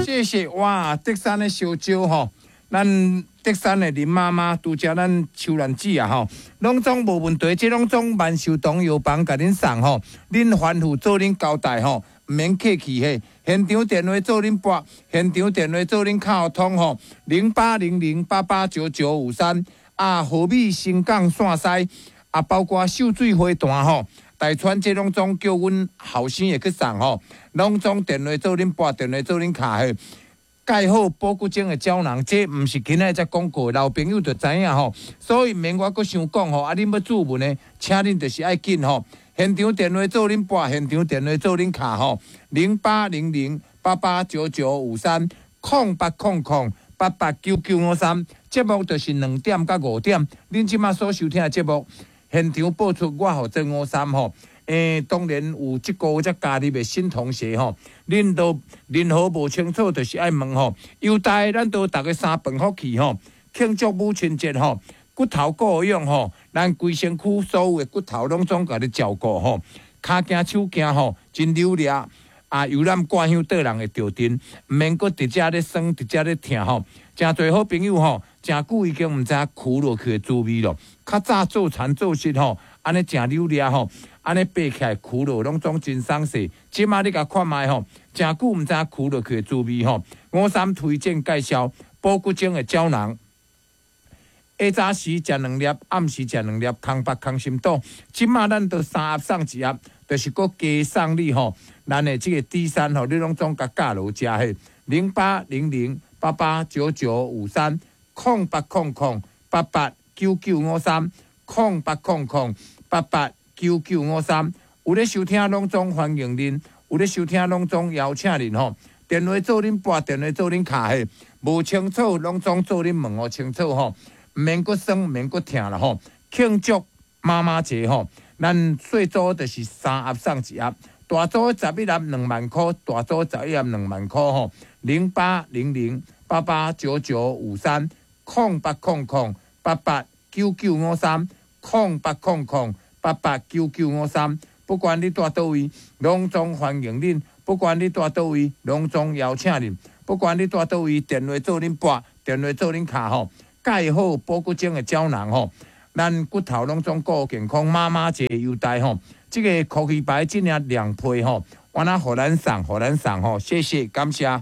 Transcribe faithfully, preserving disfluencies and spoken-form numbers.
謝謝哇！竹山的燒焦吼，咱竹山的林媽媽拄才咱秋蘭姊啊吼，攏總無問題，這攏總萬壽堂藥房共恁送吼，恁吩咐做恁交代吼，毋免客氣嘿。現場電話做恁撥，現場電話做恁敲通吼，零八零零八八九九五三啊，和美新港線西啊，包括秀水花壇吼。大川這攏總叫阮後生會去送吼，攏總電話做恁撥，電話做恁敲嘿。蓋好保骨精的膠囊，這毋是今仔才講過，老朋友就知影吼。所以毋免我閣傷講吼，啊，恁欲注文的，請恁就是愛緊吼。現場電話做恁撥，現場電話做恁敲吼，零八零零八八九九五三，空八空空八八九九五三。節目就是兩點到五點，恁這馬所收聽的節目。現場播出，我負責五三吼。欸，當然有這個月才加入的新同學吼，恁都任何無清楚，就是愛問吼。優待咱都逐家三飯福氣吼，慶祝母親節吼，骨頭顧養吼，咱規身軀所有的骨頭攏總共你照顧吼，跤行手行吼，真溜掠啊！遊覽掛香倒人會著陣，毋免閣佇遮咧酸，佇遮咧疼吼。誠濟好朋友吼，誠久已經毋知影跍落去的滋味咯。較早做田做實吼，按呢誠溜掠吼，按呢爬起來跍落攏總真鬆勢。這馬你共看覓吼，誠久毋知影跍落去的滋味吼。五三推薦介紹保骨精的膠囊。下早時食兩粒，暗時食兩粒，空腹空心肚。這馬咱都三盒送一盒，就是閣加送你吼。咱的這個 D 三吼，你攏總共加落食嘿，零八零零八八九九五三，空八空空八八九九五三，空八空空八八九九五三。有咧收聽攏總歡迎恁，有咧收聽攏總邀請恁吼。電話做恁撥，電話做恁敲嘿，無清楚攏總做恁問予清楚吼。毋免閣酸，毋免閣疼啦吼！慶祝媽媽節吼，咱細組就是三盒送一盒，大組十一盒兩萬箍，大組十一盒兩萬箍吼。零八零零八八九九五三，空八空空八八九九五三，空八空空八八九九五三。不管你蹛佗位，攏總歡迎恁；不管你蹛佗位，攏總邀請恁；不管你蹛佗位，電話做恁撥，電話做恁敲吼。蓋好保骨精的膠囊吼，咱骨頭攏總顧健康。媽媽節優待吼，這個酷奇牌這領兩批吼，我那予咱送，予咱送吼，謝謝，感謝。